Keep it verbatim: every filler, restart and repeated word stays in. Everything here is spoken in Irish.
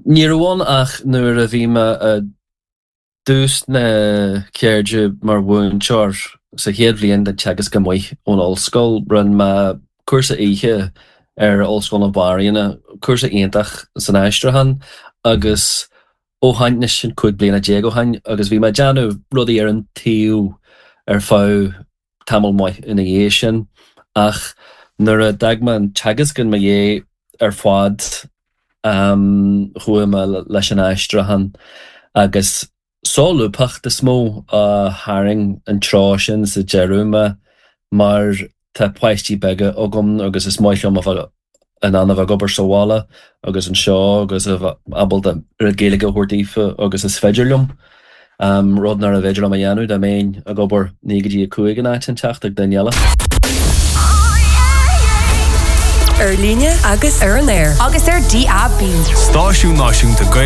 Ní raibh ann ach nuair a bhí mé i dtús na ceirde mar mhúinteoir sa chéad bhliain den teagasc amuigh ón ollscoil, rinne mé cúrsa oíche ar Ollscoil na Banríona, cúrsa iontach san aistriúchán agus ó shin anois sin cúig bliana déag ó shin agus bhí mé ag déanamh rudaí ar an taobh ar feadh tamall maith ina dhiaidh sin ach nuair a d'fhág mé an teagasc i mo dhiaidh ar fad chuaigh mé leis an aistriúchán agus solúbthacht is mó a tharraing an treo sin sa deireadh mé mar tá páistí beaga agam agus is maith liom a bheith in ann a bheith ag obair sa bhaile agus anseo agus a bheith ábalta oiread Gaeilge a thabhairt daofa agus is féidir liom. Rud nárbh fhéidir liom a dhéanamh dá mbeinn ag obair naoi go dtí a cúig in áit inteacht ag duine eile. Ar líne agus ar an aer. Agus ar DAB. Stáisiún Náisiúnta Gaeilge.